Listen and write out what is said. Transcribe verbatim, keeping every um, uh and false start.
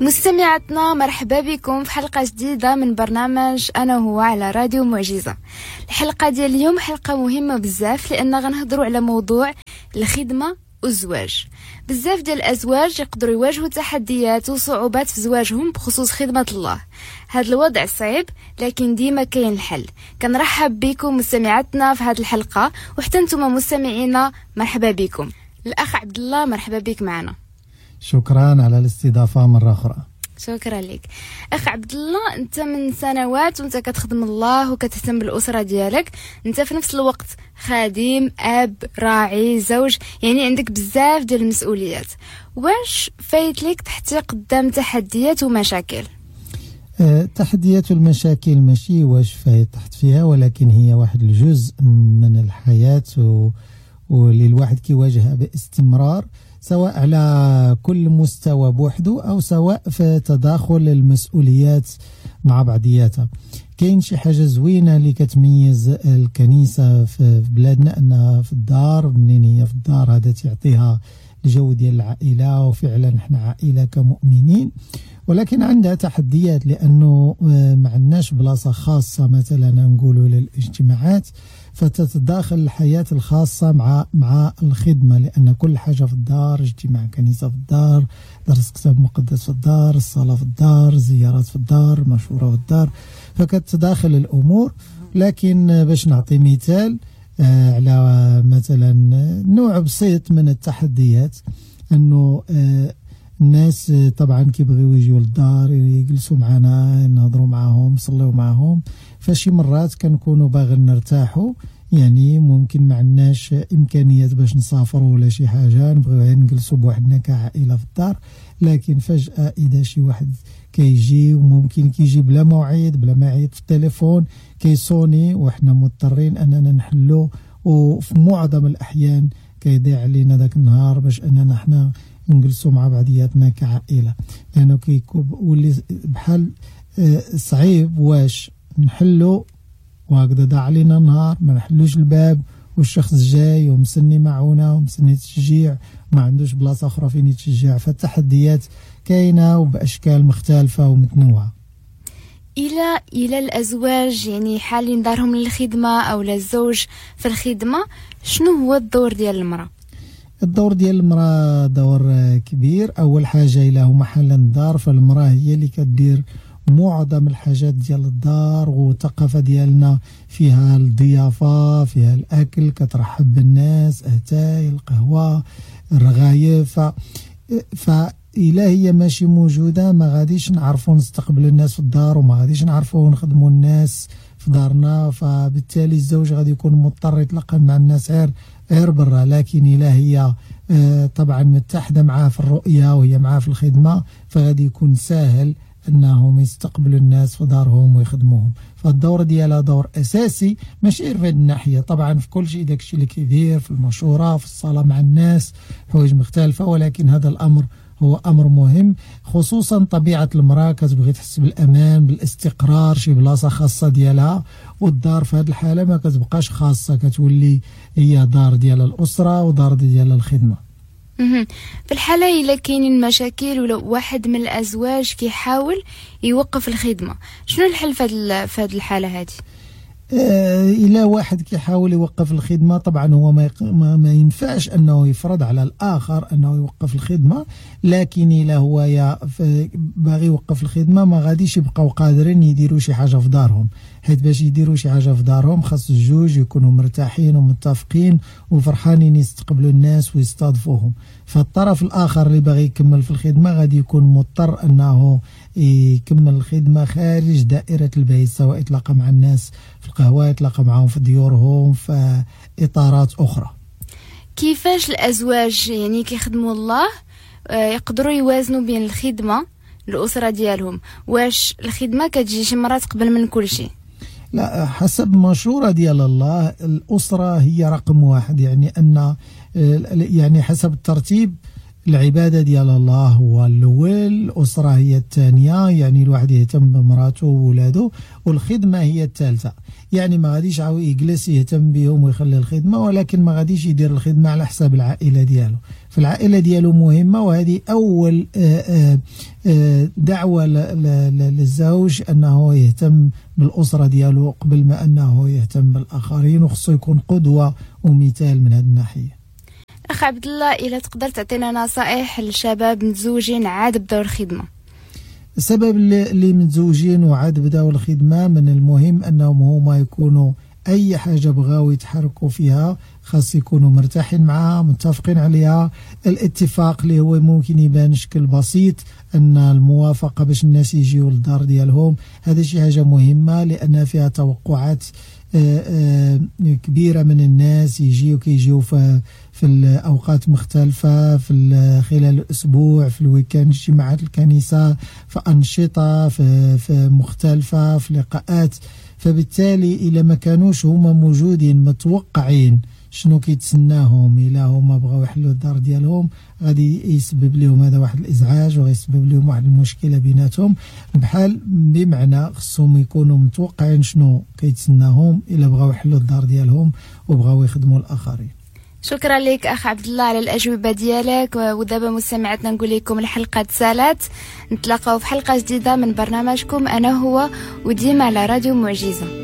مستمعاتنا مرحبا بكم في حلقة جديدة من برنامج أنا هو على راديو معجزة. الحلقة ديال اليوم حلقة مهمة بزاف لأن غنهضروا على موضوع الخدمة والزواج. بزاف ديال الأزواج يقدروا يواجهوا تحديات وصعوبات في زواجهم بخصوص خدمة الله. هذا الوضع صعيب لكن ديما كاين الحل. كنرحب بكم مستمعاتنا في هذه الحلقة، وحتى نتوما مستمعينا مرحبا بكم. الأخ عبد الله مرحبا بك معنا. شكرا على الاستضافة مرة أخرى. شكرا لك أخ عبد الله. أنت من سنوات وأنت كتخدم الله وكتهتم بالأسرة ديالك، أنت في نفس الوقت خادم، أب، راعي، زوج، يعني عندك بزاف ديال المسؤوليات. واش فايت لك تحتي قدام تحديات ومشاكل؟ أه، تحديات والمشاكل ماشي واش فايت تحت فيها، ولكن هي واحد الجزء من الحياة و... واللي الواحد كيواجهها باستمرار، سواء على كل مستوى بوحده أو سواء في تداخل المسؤوليات مع بعضياتها. كاين شي حاجة زوينة اللي كتميز الكنيسة في بلادنا، أنها في الدار، منين هي في الدار هذا تعطيها الجو ديال العائلة، وفعلا احنا عائلة كمؤمنين. ولكن عندها تحديات لأنه ما عندناش بلاصة خاصة مثلا نقولوا للاجتماعات، فتتداخل الحياة الخاصة مع مع الخدمة، لأن كل حاجة في الدار، اجتماع كنيسة في الدار، درس كتاب مقدس في الدار، الصلاة في الدار، زيارات في الدار، مشورة في الدار، فكتداخل الأمور. لكن باش نعطي مثال على مثلا نوع بسيط من التحديات، أنه الناس طبعا كيبغيو يجيو للدار يجلسوا معنا، نهضروا معاهم، نصليو معاهم، فشي مرات كنكونوا باغيين نرتاحوا، يعني ممكن ما عندناش امكانيات باش نسافروا ولا شي حاجه، نبغيو غير نجلسوا بوحدنا كعائله في الدار. لكن فجاه اذا شي واحد كيجي، وممكن كيجي بلا موعد، بلا ما يعيط في التليفون، كيصوني، وحنا مضطرين اننا نحلو، وفي معظم الاحيان كيضيع علينا ذاك النهار باش اننا حنا نجلسوا مع بعضياتنا كعائله، لانه كيكون ولي بحال صعيب واش نحلو وهكذا ضاع علينا النهار، ما نحلوش الباب والشخص جاي ومسني معونه ومسني تشجيع، ما عندوش بلاصه اخرى فين يتشجع. فالتحديات كاينه وباشكال مختلفه ومتنوعه. الى الى الازواج يعني حالين دارهم للخدمه او للزوج في الخدمه، شنو هو الدور ديال المراه؟ الدور ديال المراه دور كبير. اول حاجه الى هما حالا الدار، فالمراه هي اللي كدير معظم الحاجات ديال الدار، والثقافة ديالنا فيها الضيافة، فيها الأكل، كترحب بالناس، أتاي، القهوة، الرغايف. فإلا هي ماشي موجودة ما غاديش نعرفوا نستقبل الناس في الدار، وما غاديش نعرفوا نخدموا الناس في دارنا، فبالتالي الزوج غادي يكون مضطر يتلقى مع الناس غير غير برا. لكن إلا هي طبعا متحدة معاه في الرؤية وهي معاه في الخدمة، فغادي يكون ساهل انهم يستقبلوا الناس في دارهم ويخدموهم. فالدور ديالها دور اساسي، ماشي غير في هذه الناحيه، طبعا في كل شيء، داكشي اللي كيدير في المشوره، في الصلاه مع الناس، حوايج مختلفه، ولكن هذا الامر هو امر مهم، خصوصا طبيعه المراه كتبغي تحس بالامان، بالاستقرار، شي بلاصه خاصه ديالها، والدار في هذه الحاله ما كتبقاش خاصه، كتولي هي دار ديال الاسره ودار ديال الخدمه. في الحالة إلا كاينين مشاكل ولا واحد من الأزواج كيحاول يوقف الخدمة، شنو الحل في هذه الحالة هذه؟ آه، إلا واحد كيحاول يوقف الخدمة، طبعا هو ما, ما, ما ينفعش أنه يفرض على الآخر أنه يوقف الخدمة، لكن إلا هو يا باغي يوقف الخدمة ما غاديش يبقاو قادرين يديروا شي حاجة في دارهم، حيت باش يديروا شي حاجة في دارهم خاص الجوج يكونوا مرتاحين ومتفقين وفرحانين يستقبلوا الناس ويستضيفوهم. فالطرف الآخر اللي باغي يكمل في الخدمة غادي يكون مضطر أنه يكمل الخدمة خارج دائرة البيت، سواء يتلاقى مع الناس في القهوة، يتلاقى معهم في ديورهم، في إطارات أخرى. كيفاش الأزواج يعني كيخدموا الله يقدروا يوازنوا بين الخدمة الأسرة ديالهم؟ واش الخدمة كتجي شي مرات قبل من كل شيء؟ لا، حسب مشورة ديال الله الأسرة هي رقم واحد، يعني أن يعني حسب الترتيب العبادة ديال الله هو الأول، الأسرة هي الثانية، يعني الواحد يهتم بمراته وولاده، والخدمة هي الثالثة. يعني ما غاديش عاو يجلس يهتم بهم ويخلي الخدمة، ولكن ما غاديش يدير الخدمة على حساب العائلة ديالو. في العائلة ديالو مهمة. وهذه أول دعوة للزوج أنه يهتم بالأسرة ديالو قبل ما أنه يهتم بالآخرين، وخصو يكون قدوة ومثال من هذه الناحية. أخ عبد الله، إلا تقدر تعطينا نصائح للشباب متزوجين عاد بداو الخدمة. السبب اللي متزوجين وعاد بداو الخدمة، من المهم أنهم هما يكونوا أي حاجة بغاو يتحركوا فيها خاص يكونوا مرتاحين معها، متفقين عليها. الاتفاق اللي هو ممكن يبان شكل بسيط، أن الموافقة باش الناس يجيو للدار ديالهم، هذا شي حاجة مهمة لأن فيها توقعات كبيرة من الناس، يجيو كيجيو في في الأوقات مختلفة، في خلال الأسبوع، في ال week-end، اجتماعات الكنيسة، في أنشطة، في, في مختلفة، في لقاءات. فبالتالي إلا ما كانوش هما موجودين متوقعين شنو كيتسناهم، إلا هما بغاو يحلوا الدار ديالهم غادي يسبب لهم هذا واحد الإزعاج وغيسبب لهم واحد المشكلة بيناتهم. بحال بمعنى خصهم يكونوا متوقعين شنو كيتسناهم إلا بغاو يحلوا الدار ديالهم وبغاو يخدموا الآخرين. شكرا لك أخ عبد الله على الأجوبة ديالك. ودابا مستمعاتنا نقول لكم الحلقة تسالات، نتلاقاو في حلقة جديدة من برنامجكم أنا هو، وديما على راديو معجزة.